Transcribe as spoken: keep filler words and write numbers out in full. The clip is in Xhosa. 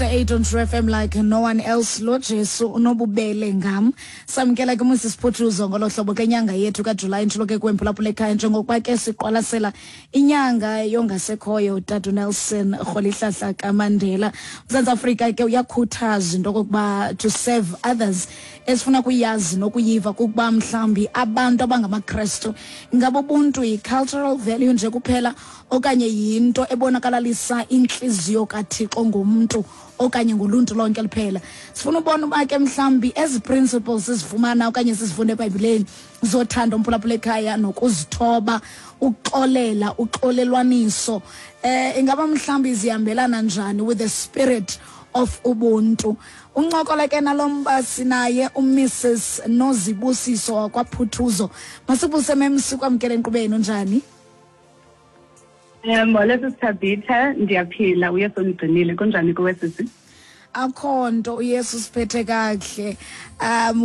Eight on True F M like no one else. Lo Jesu unobubele ngam. Samkela ke uMrs Phuthuzo ngolo hlobo ke nyanga yethu kaJulayi, ntshilo ke kwemphulaphula ekhaya, njengokuba ke siqwalasela inyanga yongasekhoyo utata Nelson Rholihlahla kaMandela. Mzantsi Afrika ke uyakhuthaza into okokuba to serve others. Esifuna kuyazi nokuyiva kukuba mhlawumbi abantu abangamaKrestu, ingaba ubuntu yi-cultural value nje kuphela okanye yinto ebonakalalisa intliziyo kaThixo ngomntu okanye ngoluntu lonke liphela? Sifuna ubona uba ke mhlawumbi ezi principles sizifumana okanye sizifunda eBhayibhileni zothando, umphulaphula ekhaya, nokuzithoba, uxolela, uxolelwaniso, eh ingaba mhlawumbi zihambelana njani with the spirit of ubuntu? Uncokola ke nalo mba sinaye uMrs Nozibusiso wakwaPhuthuzo. Masibuse memsi, kwamkele enkqubeni, unjani? Um molo sisiThabitha, ndiyaphila, uYesu undigcinile. Kunjani kuwe, sisi? Akho nto, uYesu siphethe kakuhle. um